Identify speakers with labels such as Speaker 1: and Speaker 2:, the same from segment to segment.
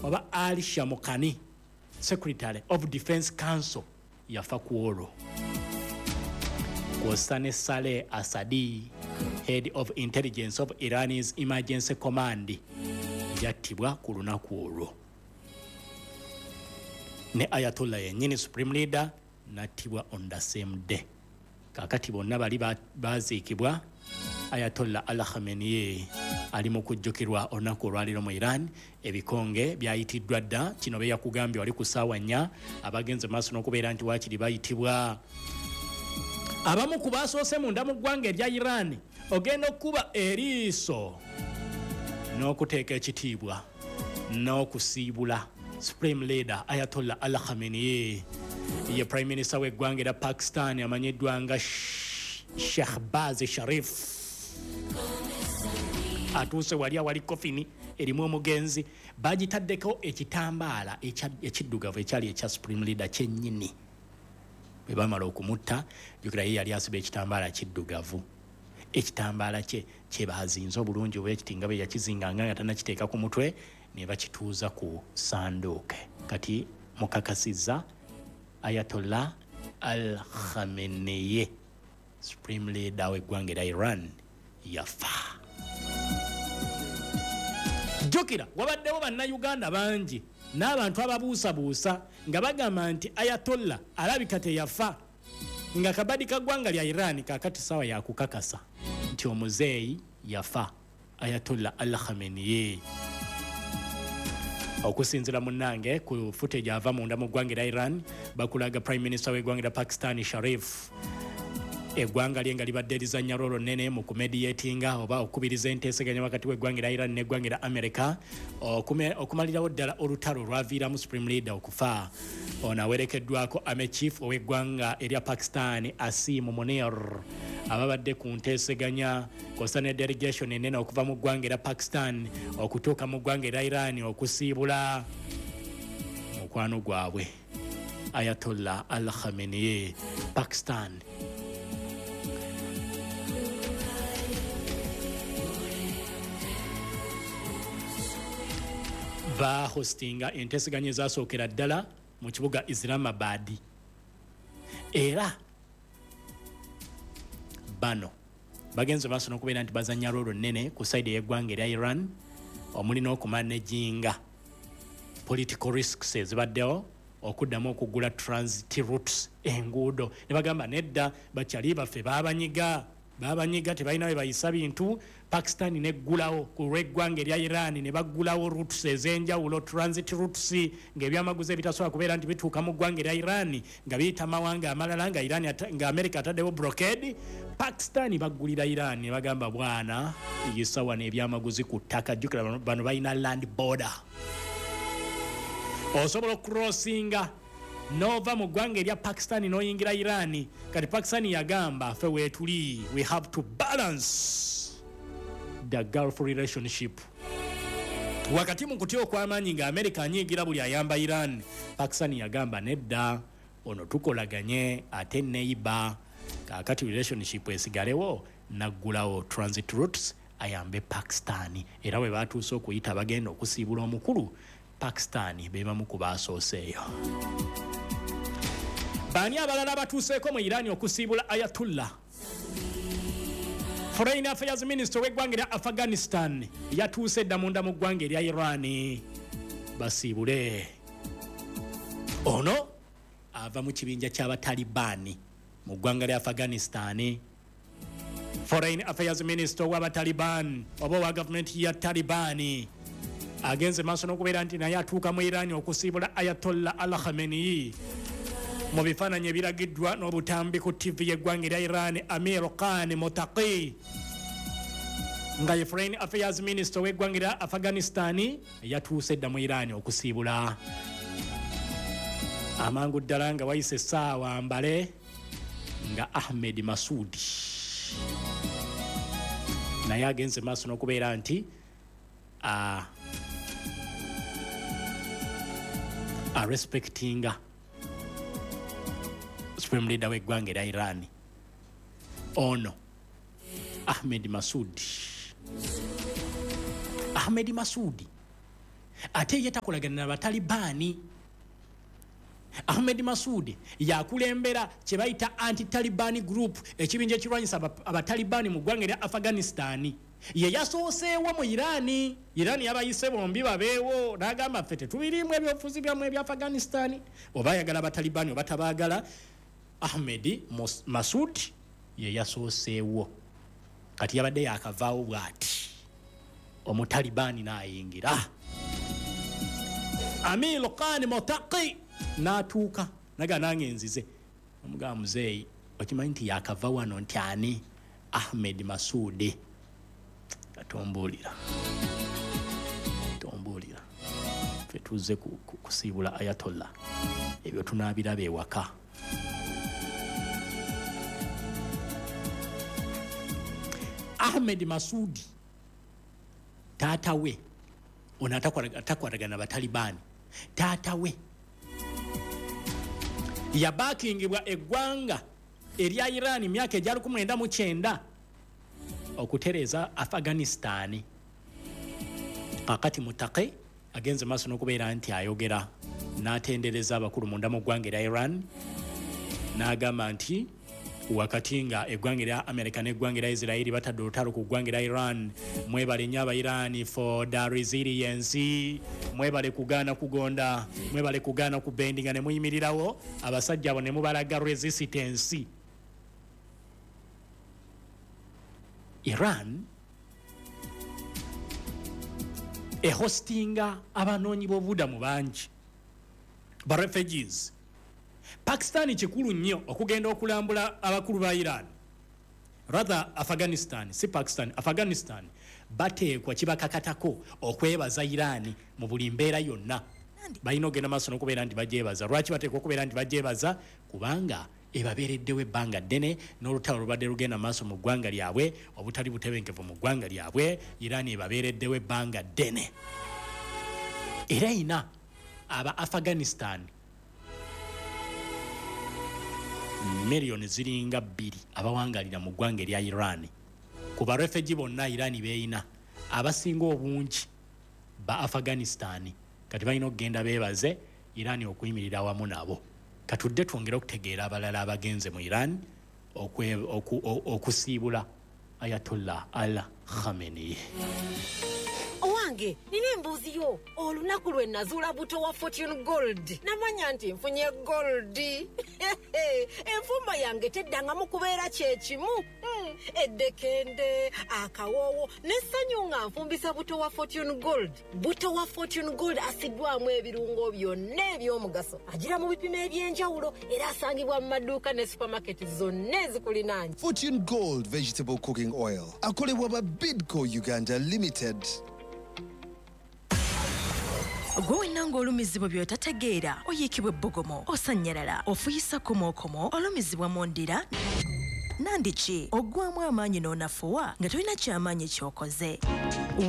Speaker 1: Oba Ali Shamkhani, secretary of Defense Council, yafa ku olwo, kwossa ne Saleh Asadi, head of intelligence of Iran's emergency command, yattibwa ku lunaku olwo, ne Ayatollah yennyini, supreme leader, nattibwa on the same day. Kakati bonna bali baziikibwa. Ayatollah Al Khamenei ali mu kujjukirwa olunaku olwaliro mu Iran. Ebikonge byayitiddwa dda. Kino be yakugambye wali ku ssaawa 4, abagenze maaso n'okubeera nti waakiri bayitibwa. Abamu ku basoose munda mu ggwanga erya Iran ogenda okukuba eriiso n'okuteeka ekitiibwa n'okusiibula supreme leader Ayatollah Al Khamenei ye prime minister w'eggwanga era Pakistan amanyiddwa nga Shahbaz Sharif. Atuuse wali awali coffin erimu omugenzi, bagitaddeko ekitambaala ekiddugavu ekyali ekya supreme leader kyennyini bwe bamala okumutta. Jukira ye yali asiba ekitambaala kiddugavu. Ekitambaala kye kyebazinze obulungi oba ekiti nga bwe yakizinganga nga tannakiteeka ku mutwe, ne bakituuza ku sanduuke. Kati mukakasizza Ayatollah Al Khamenei, supreme leader w'eggwanga era Iran, yafa. Jjukira wabaddewo Bannayuganda bangi n'abantu ababuusabuusa nga bagamba nti Ayatollah alabika teyafa, nga kabadi ka ggwanga lya Iran. Kakati sawa yakukakasa nti omuzeeyi yafa, Ayatollah Al Khamenei. Okusinzira munnange ku footage ava munda mu ggwanga era Iran, bakulaga prime minister w'eggwanga lya Pakistan Sharif, eggwanga lye nga libadde lizannya role nnene mu kumediatinga oba okukubiriza enteeseganya wakati w'eggwanga erya Iran n'eggwanga erya America okumalirawo ddala olutalo olwaviiramu supreme leader okufa. Ono awerekeddwako army chief ow'eggwanga erya Pakistan Asim Munir, ababadde ku nteeseganya, kwossa ne delegation enene okuva mu ggwanga erya Pakistan okutuuka mu ggwanga erya Iran okusiibula mukwano gwabwe Ayatollah Al Khamenei. Pakistan bahostinga enteeseganya ezasookera ddala mu kibuga Islamabad, era bano bagenze maaso n'okubeera nti bazanya role nnene ku side ey'eggwanga erya Iran, omuli n'okumanaginga political risks ezibaddewo, okuddamu okuggula transit routes, enguudo, ne bagamba nedda, bakyali baffe babanyiga, babanyiga, tebalina we bayisa bintu. Pakistan neggulawo ku lw'eggwanga erya Iran, ne baggulawo routes ez'enjawulo, transit routes, ng'ebyamaguzi ebitasobola kubeera nti bituuka mu ggwanga erya Iran nga biyita mawanga amalala, nga Iran nga America ataddewo blockade, Pakistan baggulira Iran ne bagamba, "Bwana, yisa wano ebyamaguzi ku ttaka." Jjukira bano balina land border, osobola okucrossinga nova mu ggwanga erya Pakistan n'oyingira Iran. Kati Pakistan yagamba, "Ffe weetuli, we have to balance the Gulf relationship." Wakati mu kutya okw'amaanyi nga America anyiigira buli ayamba Iran, Pakistan yagamba, "Nedda, ono tukolaganye ate neighbor." Kaakati relationship esigalewo, naggulawo transit routes ayambe Pakistan. Era bwe batuuse okuyita bagenda okusiibula omukulu, Pakistan be bamu ku baasooseeyo. Baani abalala abatuuseeko mu Iran okusiibula Ayatullah? Foreign affairs minister w'eggwanga erya Afghanistan yatuuse dda munda mu ggwanga erya Iran basiibule. Ono ava mu kibinja ky'Abatalibaani mu ggwanga lya Afghanistan. Foreign affairs minister ow'Abataliban oba owa gavumenti ya Talibaani agenze maaso n'okubeera nti naye atuuka mu Iran okusiibula Ayatollah Al Khamenei. Mu bifaananyi ebiragiddwa n'obutambi ku TV y'eggwanga erya Iran, Amir Khan Mutaqi, nga ye foreign affairs minister w'eggwanga erya Afghanistan, yatuuse dda mu Iran okusiibula. Amangu ddala nga wayise essaawa mbale, nga Ahmed Masudi naye agenze maaso n'okubeera nti arespectinga supreme leader w'eggwanga erya Iran. Ono Ahmed Masudi, Ahmed Masudi Ate ye takolagana na Batalibaani. Ahmed Masudi yakulembera kye bayita anti-Taliban group, ekibinja ekirwanyisa Abatalibaani mu ggwanga erya Afghanistan. Ye yasooseewo mu Irani. Irani yabayise bombi babeewo, n'agamba ffe tetubirimu ebyobufuzi byammwe ebya Afghanistan, oba ayagala Abatalibaani oba tabaagala. Ahmed Masud ye yasooseewo. Kati yabadde yakavaawo bw'ati, Omutalibaani n'ayingira, Amir Khan Motaki n'atuuka, naga nange nzize. Omugamba, muzeeyi, okimanyi nti yakava wano nti ani? Ahmed Masudi. Tombuulira, tombuulira, ffe tuzze kusiibula Ayatollah, ebyo tunaabiraba ewaka. Ahmed Masudi taata we ono atakwatagana Batalibaani, taata we yabakingibwa eggwanga erya Iran myaka egya 1990 okutereeza Afghanistan. Kakati Mutake agenze maaso n'okubeera nti ayogera n'atendereza abakulu munda mu ggwanga erya Iran, n'agamba nti wakati nga eggwanga erya America n'eggwanga erya Israeli batadde olutalo ku ggwanga erya Iran, mwebale nnyo aba Iran for the resilience, mwebale kugaana kugonda, mwebale kugaana kubendinga ne muyimirirawo abasajja abo ne mubalaga resistance. Iran ehostinga abanoonyi b'obubudamu bangi, ba refugees. Pakistan kikulu nnyo okugenda okulambula abakulu ba Iran, rather Afghanistan, si Pakistan, Afghanistan. Bateekwa, kibakakatako okwebaza Iran mu buli mbeera yonna. Balina okugenda maaso n'okubeera nti bagyebaza. Lwaki bateekwa okubeera nti bagyebaza? Kubanga ebabeereddewo ebbanga ddene n'olutalo lubadde lugenda maaso mu ggwanga lyabwe, obutali butebenkevu mu ggwanga lyabwe, Iran ebabeereddewo ebbanga ddene. Era erina aba Afghanistan miliyoni ziringa 2 abawangalira mu ggwanga erya Iran. Ku barefugee bonna Iran beeyina, abasinga obungi ba Afghanistan. Kati balina okugenda beebaze Iran okuyimirira wamu nabo. Katudde twongere okutegeera abalala abagenze mu Iran okusiibula Ayatollah Al Khamenei.
Speaker 2: Owange, nina embuuzi yo. Olunaku lwe nazuula buto wa Fortune Gold, namanya nti nfunye gold. Enfumba yange teddangamu kubeera kyekimu. Eddekende, akawoowo n'essanyu nga nfumbisa buto wa Fortune Gold. Buto wa Fortune Gold asiddwamu ebirungo byonna eby'omugaso, agira mu bipimo eby'enjawulo, era asangibwa mu maduuka ne supamaketi zonna ezikulinaanye.
Speaker 3: Fortune Gold Vegetable Cooking Oil akolebwa ba Bidco Uganda Limited.
Speaker 4: Gwe wenna ng'olumizibwa by'otategeera, oyiikibwa ebbugumu, osannyalala, ofuyisa komookomo, olumizibwa mu ndira nandiki, oggwamu amaanyi n'onafuwa nga tolina kyamaanyi ky'okoze,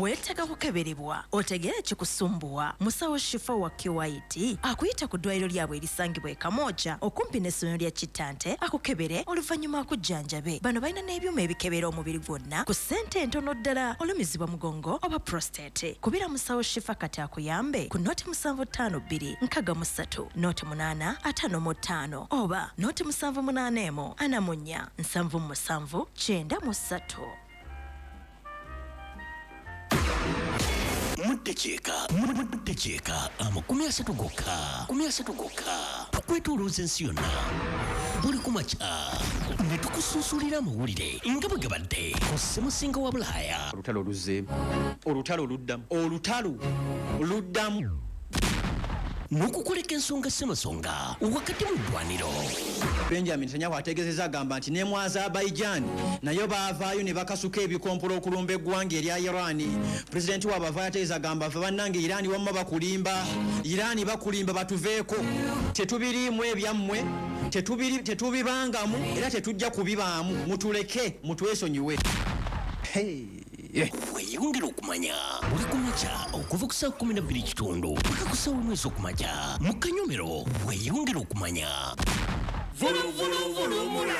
Speaker 4: weetaaga kukeberebwa otegeere kikusumbuwa. Musawo Shifa wa QIT akuyita ku ddwaliro lyabwe erisangibwa e Kamwokya okumpi n'essomero lya Kittante, akukebere oluvannyuma akujjanjabe. Bano balina n'ebyuma ebikebera omubiri gwonna ku ssente entono ddala. Olumizibwa mugongo oba prostate, kubira musawo Shifa kati akuyambe ku 0 752 63 08 55 oba 0 781 44 77 93.
Speaker 5: Muddakiika 30 gokka, 30 gokka, tukwetoolooza ensi yonna buli ku makya ne tukusunsulira amawulire nga bwe gabadde ku ssemusinga wa Bulaaya.
Speaker 6: Olutalo luzzeemu, olutalo luddamu, olutalo luddamu.
Speaker 5: N'okukoleka ensonga ssemasonga wakati mu ddwaniro.
Speaker 6: Benjamin Netanyahu ategeezezza, agamba nti ne mu Azerbaijan nayo baavaayo ne bakasuka ebikompola okulumba eggwanga erya Iran. Pulezidenti waabwe avaayo ategeeza, agamba ffe bannange Iran wamma bakulimba, Iran bakulimba, batuveeko, tetubiriimu ebyammwe, tetubibangamu era tetujja kubibaamu, mutuleke, mutwesonyiwe.
Speaker 5: Weeyongera okumanya buli ku makya okuva ku ssaawa 12:15 paka ku ssaawa 1 ez'okumakya mu kanyomero. Weeyongera okumanya.
Speaker 7: Vuluvuluvulumula.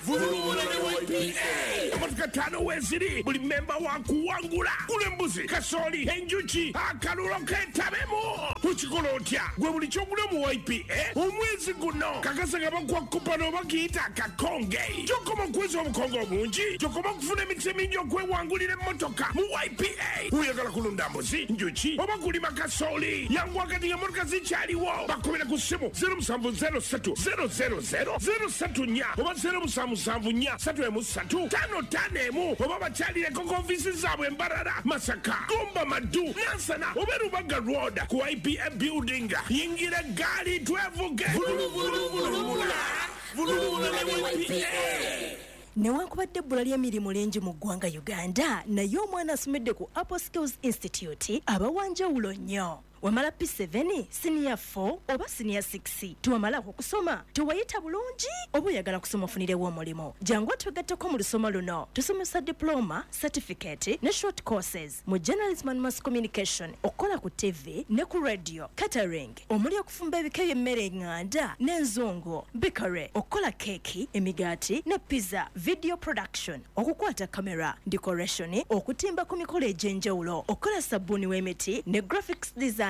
Speaker 7: Vulubula ne YPA. Emotoka ttaano weeziri, buli memba wa kuwangula. Gula embuzi, kasooli, enjuki, akalulo keetabemu. Ukikola otya? Gwe buli kyogula mu YPA omwezi guno kakasa nga bakuwa kupano oba kiyita akakonge. Gy'okoma okuweza obukonge obungi, gy'okoma okufuna emikisa emingi okwewangulira emmotoka mu YPA. Oyagala kulunda mbuzi, njuki oba kulima kasooli, yanguwa kati ng'emmotoka zikyaliwo. Bakubira ku ssimu 0703 000 034 oba 0774 313 51 oba bakyalireko ku ofiisi zaabwe Mbarara, Masaka, Gomba, Maddu, Nansana oba Rubaga Road ku YPA building. Yingira eggaali twevuge. Vuluvuluvulubula, vulubula ne YPA.
Speaker 4: Newankubadde ebbula ly'emirimu lingi mu ggwanga Uganda, naye omwana asomedde ku Apple Skills Institute aba wa njawulo nnyo. Wamala P7, siniya 4 oba siniya 6, tewamalako kusoma, tewayita bulungi oba oyagala kusoma ofunirewo omulimu, jangu otwegatteko mu lusoma luno. Tusomesa diploma, certificate ne short courses mu journalism and mass communication, okukola ku TV ne ku radio, catering omuli okufumba ebika by'emmere eŋŋanda n'enzungu, bakery, okukola keeki, emigaati ne pizza, video production, okukwata kamera, decoration, okutimba ku mikolo egy'enjawulo, okukola sabbuuni w'emiti ne graphics designing.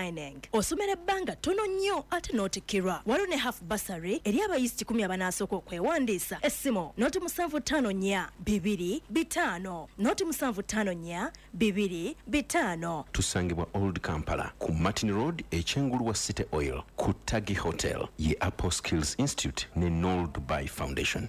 Speaker 4: Osomera ebbanga ttono nnyo ate n'otikkirwa. Waliwo ne half bursary eri abayizi 10 abanaasooka okwewandiisa. Essimu 0754 2 5 0754 2 5.
Speaker 8: Tusangibwa Old Kampala ku Martin Road, ekyengulu wa City Oil ku Tagi Hotel, ye Apple Skills Institute ne Nol Dubai Foundation.